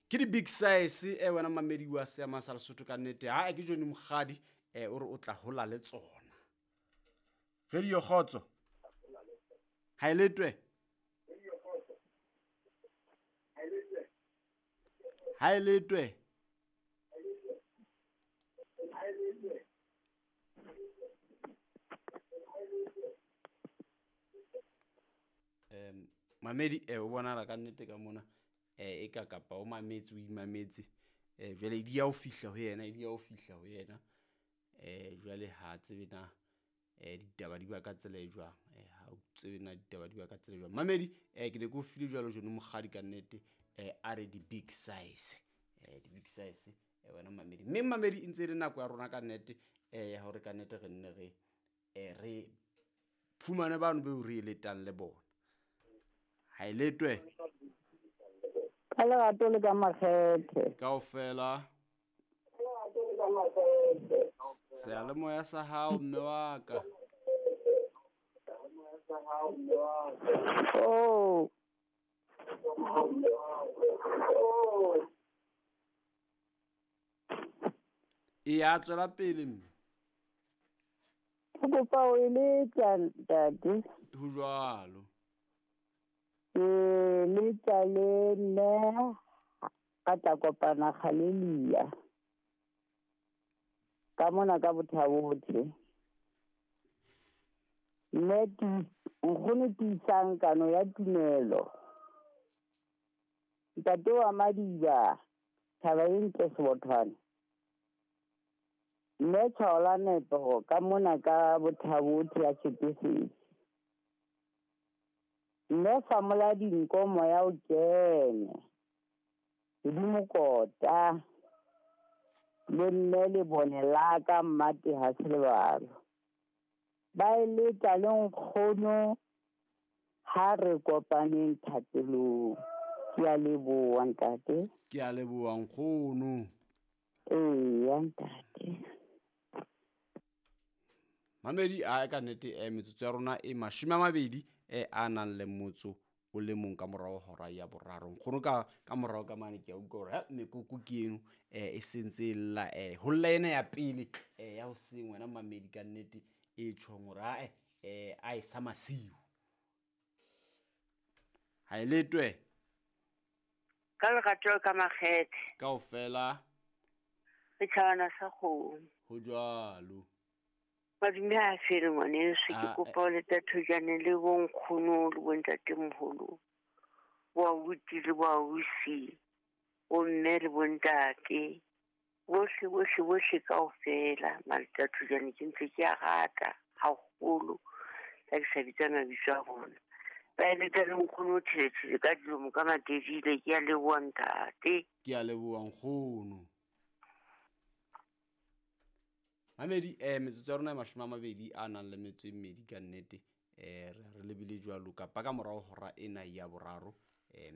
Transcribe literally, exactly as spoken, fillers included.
Ke di big size e wena mamedi wa seama sa Lesotho ka nnete. Ha ke Johnny Mokgadi eh o re o tla hola le tsona. Radio Kgotso. Ha e letwe. Ha e letwe. Em mamedi eh o bonala ka nnete ka mona eh e ka kapa o mametse o imametse eh jwale di ya o fihla ho yena di ya o fihla ho yena eh jwale ha tsebe na eh ditaba di ba ka tsela e jwang eh ha o tsebe na ditaba di ba ka tsela e jwang mamedi eh ke ne ke o file jwalo Johnny Mokgadi ka nnete eh a re di big size eh di big size eh wena mamedi mme mamedi e ntse le nako ya rona ka nnete eh ya hore ka nnete re nne re eh re fumane bano be re eletang le bona. Ha e letwe. Ka lerato le ka makgethe. Kaofela. Seyalemoya sa hao mme wa ka. Oh. E ya tswela pele mme. Ke kopa o eletsa ntate. Ho jwalo. Ke letsa le nne ka tla kopana Galelia. Ka mona ka Bothabothe. Mme nkgono tiisang kano ya tumelo. Ntate wa Madiba, thaba e ntle Sebothwane. Mme Tshwaola Nepo ka mona ka Bothabothe ya Tshepesedi. Mme Famola dinko moya o kene. Hodimo kota. Le mme le bone la ka mmate ha se lebalo. Ba eletsa le nkgono ha re kopaneng thapelong. Ke a leboha ntate. Ke a leboha nkgono. Eya ntate. Mamedi a ka nnete eh metsotso ya rona e mashome a mabedi eh a nang le motso o le mong ka morao hora ya boraro. Nkgono ka ka morao ka mane ke a utlwa hore mekoko ke eno eh e sentse lla eh ho lla ena ya pele eh ya hoseng wena mamedi ka nnete e tjhong hore a eh a e sa masiu. Ha e letwe. Ka lerato ka makgethe. Kaofela. Setjhabana sa kgomo. Ho jwalo. Madume a fele ngwaneso, ke kopa o leta thojane le bonkgono le bontatemoholo, bo abuti le bo ausi, bomme le bontate, bohle bohle bohle kaofela. Maleta thojane ke ntse ke a rata haholo, ha ke sa bitsa mabitso a bona. Ba eletsa le nkgono Thelethele ka dilomo ka Matedile. Ke a leboha ntate. Ke a leboha nkgono. Mamedi eh metsotso ya rona e mashome a mabedi a nang le metso e mmedi ka nnete eh re lebile jwalo kapa ka morao hora ena ya boraro